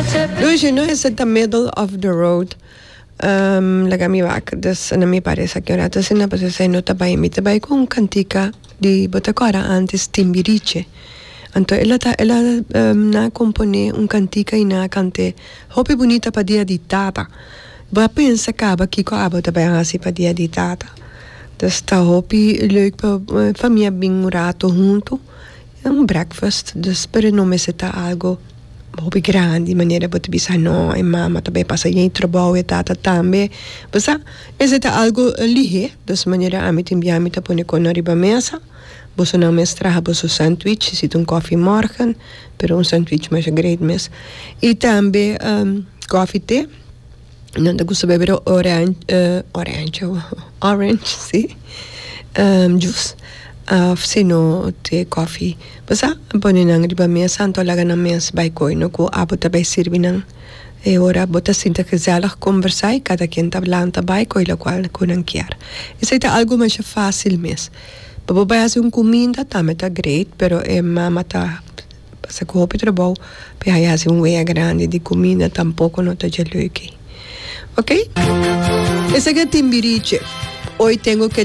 Dushi no esei ta middle of the road laga mi wak dus na mi paresa aki un rato asina pasobra esei no ta bai mi ta bai ku un kantika di bo ta kòrda antes Timbiriche anto el a ta el a nan a komponé un kantika i nan a kant'é hopi bunita pa dia di tata bo a pensa kaba kiko abo ta bai hasi pa dia di tata dus ta hopi leuk pa famia bin un rato huntu. Un breakfast, dus pero no mester ta algo hopi grandi manera bo ta bisa no e mama ta bay pasa yen trabou e tata tambe bo sa mester ta algo lihe dus manera ami tin bia mi ta pone kono riba mesa boso nan mes traha boso sandwich si ta un koffie morgen pero un sandwich masha great mes y tambe koffie te. Nan ta gusta bebe orange orange orange si juice of si no te koffie bo sa pone nan riba mesa anto laga nan mes bai koe no ku abo ta bai sirbi nan e ora bo ta sinta gezellig kombersa i kada ken ta lanta bai koe lokual ku nan kier esei ta algu masha fasil mes pa bo bai hasi un kuminda tambe ta great pero e mama ta. Pasa ku hopi trabou pa e haya hasi un wea grandi di kuminda tampoko no ta dje leuk ei. Ok. Esaki a Timbiriche. Hoy tengo que.